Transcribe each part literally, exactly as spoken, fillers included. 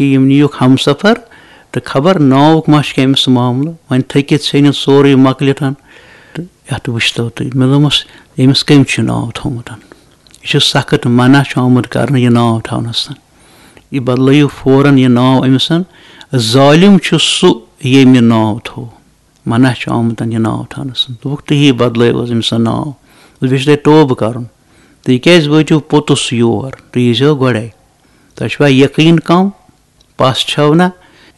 یِم نِیُکھ ہمسفر، تہٕ خبر ناوُک ما چھُ أمِس معاملہٕ، وۄنۍ تھٔکِتھ ژھیٚنِتھ سورُے مۄکلِتھ۔ تہٕ یَتھ وٕچھتو تُہۍ، مےٚ دوٚپمَس، أمِس کٔمۍ چھُ ناو تھوٚومُت؟ یہِ چھُ سخت منع چھُ آمُت کرنہٕ یہِ ناو تھاونَس۔ یہِ بدلٲیِو فوراً یہِ ناو أمِس۔ ظٲلِم چھُ سُہ، ییٚمۍ یہِ ناو تھوٚو۔ منع چھُ آمُت یہِ ناو تھاونَس۔ دوٚپُکھ، تُہی بدلٲیِو حظ أمِس ناو۔ بیٚیہِ چھُ تۄہہِ توبہٕ کرُن۔ تُہۍ کیٛازِ وٲتِو پوٚتُس یور؟ تُہۍ ییٖزیو گۄڈَے۔ تۄہہِ چھُوا یقیٖن کم؟ پَس چھَو نہ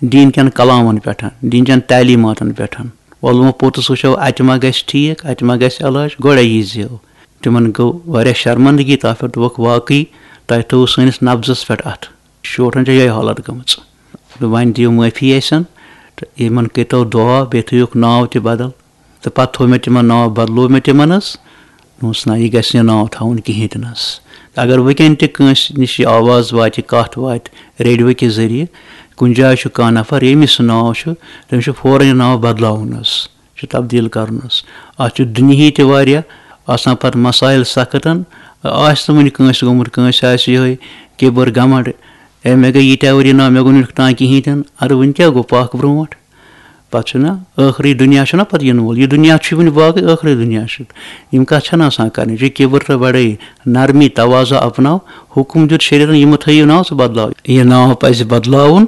دیٖن کٮ۪ن کلامَن پٮ۪ٹھ، دیٖن چٮ۪ن تعلیٖماتَن پٮ۪ٹھ؟ وَلہٕ وۄنۍ پوٚتُس وٕچھو، اَتہِ ما گژھِ ٹھیٖک، اَتہِ ما گژھِ علاج، گۄڈَے ییٖزیو۔ تِمَن گوٚو واریاہ شرمندگی تَتھ پٮ۪ٹھ، دوٚپُکھ، واقعی تۄہہِ تھوٚوُ سٲنِس نبضَس پٮ۪ٹھ اَتھٕ۔ شوٹھَن چھےٚ یِہوٚے حالت گٔمٕژ۔ دوٚپ، وۄنۍ دِیِو معٲفی اَسٮ۪ن، تہٕ یِمَن کٔرۍتو دُعا، بیٚیہِ تھٲیِوکھ ناو تہِ بدل۔ تہٕ پَتہٕ تھوٚو مےٚ تِمَن ناو، بدلوو مےٚ تِمَن حظ۔ دوٚپمَس، نہ، یہِ گژھِ نہٕ ناو تھاوُن کِہیٖنۍ تہِ نہٕ حظ۔ اگر وٕنکٮ۪ن تہِ کٲنٛسہِ نِش یہِ آواز واتہِ، کَتھ واتہِ ریڈیو کہِ ذٔریعہٕ، کُنہِ جایہِ چھُ کانٛہہ نفر، ییٚمِس سُہ ناو چھُ، تٔمِس چھُ فوراً یہِ ناو بدلاوُن حظ، چھُ تبدیٖل کَرُن حظ۔ اَتھ چھُ دُنیہی تہِ واریاہ آسان پَتہٕ مسائل سختَن۔ آسہِ نہٕ وٕنہِ کٲنٛسہِ گوٚمُت، کٲنٛسہِ آسہِ یِہوٚے کِبر، گھمنڈ، اے، مےٚ گٔے ییٖتیٛاہ ؤری ناو، مےٚ گوٚو نہٕ یُتھ تام کِہیٖنۍ تہِ نہٕ۔ اَدٕ وٕنہِ کیٛاہ گوٚو پَکھ برٛونٛٹھ؟ پَتہٕ چھُنہ ٲخری دُنیا چھُنہ پَتہٕ یِنہٕ وول۔ یہِ دُنیا چھُ وٕنہِ باقٕے، ٲخری دُنیا چھُ۔ یِم کَتھ چھَنہٕ آسان کَرٕنۍ۔ یہِ چھُ کِبر تہٕ بَڑٲیی، نرمی، تواضع اپناو۔ حُکُم دیُت شریعتَن، یِمہٕ تھٲیِو ناو، ژٕ بدلاو۔ یہِ ناو پَزِ بدلاوُن۔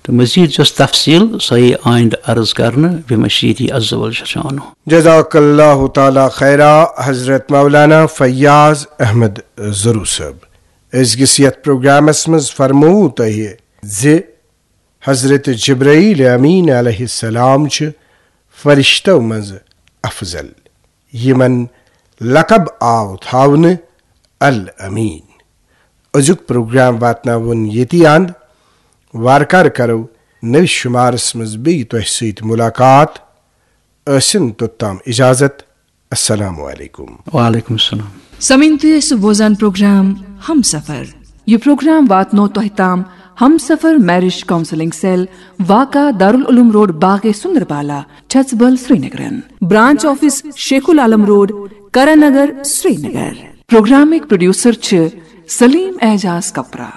تہٕ مزید یۄس تفصیل، سۄ یی آیندٕ عرض کرنہٕ بمشیتی عز وجل شانہ۔ جزاک اللہ تعالیٰ خیرا حضرت مولانا فیاض احمد ضروٗ صٲب۔ أزکِس یتھ پروگرامس منٛز فرموو تۄہہِ زِ حضرت جبرائیل امین علیہ السلام چھِ فرشتو منٛز افضل، یِمن لقب آو تھاونہٕ الامین۔ أزیُک پروگرام واتناوُن ییٚتی اند۔ وارٕ کارٕ کرو نٔوِس شُمارس منٛز بیٚیہِ تۄہہِ سۭتۍ مُلاقات۔ ٲسِن توٚتام اجازت۔ السلام علیکم۔ وعلیکم السلام۔ سمعین، تُہۍ ٲسِو بوزان پروگرام ہمسفر۔ یہِ پروگرام واتنو تۄہہِ تام ہمسفر میرج کاؤنسلنگ سیل، واقع دارالعلوم روڈ، باغے سندربالا، چھژبل، سرینگرن۔ Branch office Sheikh ul Alam road, Karan Nagar, Srinagar. پروگرامٕکۍ پروڈیوسر چھِ سلیم اعجاز کپرا۔